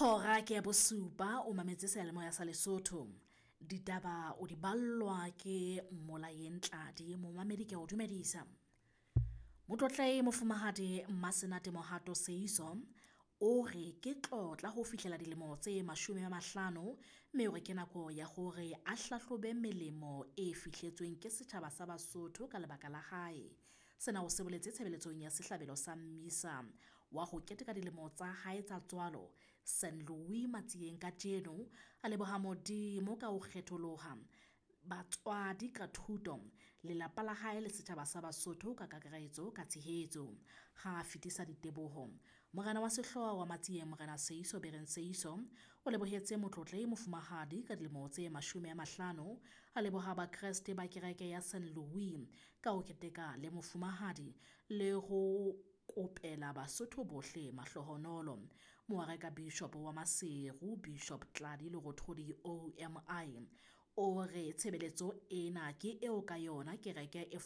Hora ke ya bosupa o mametse seyalemoya sa Lesotho. Ditaba o di ballwa ke Mmolayeng Tladi, momamedi ke a o dumedisa. Motlotlehi Mofumahadi Mmasenate Mohato Seiso o re ke tlotla ho fihlela dilemo tse 50, mme o re ke nako ya hore a hlahlobe melemo e fihletsweng ke setjhaba sa Basotho ka lebaka la hae. Sena o se boletse tshebeletsong ya sehlabelo sa mmisa wa ho keteka dilemo tsa hae tsa tswalo St Louis Matsieng kajeno, a leboha Modimo ka ho kgetholoha batswadi ka thuto, lelapa la hae le setjhaba sa Basotho ka kakaretso ka tshehetso. Ha a fetisa diteboho, morena wa sehlooho wa Matsieng Morena Seiso Bereng Seiso o lebohetse motlotlehi mofumahadi ka dilemo tse 50, a leboha Bakreste ba kereke ya St Louis ka ho keteka le mofumahadi le ho kopela Basotho bohle mahlohonolo. Moareka Bishop wa Maseru Bishop Tladi Lerothodi OMI o re tshebeletso ena ke eo ka yona kereke e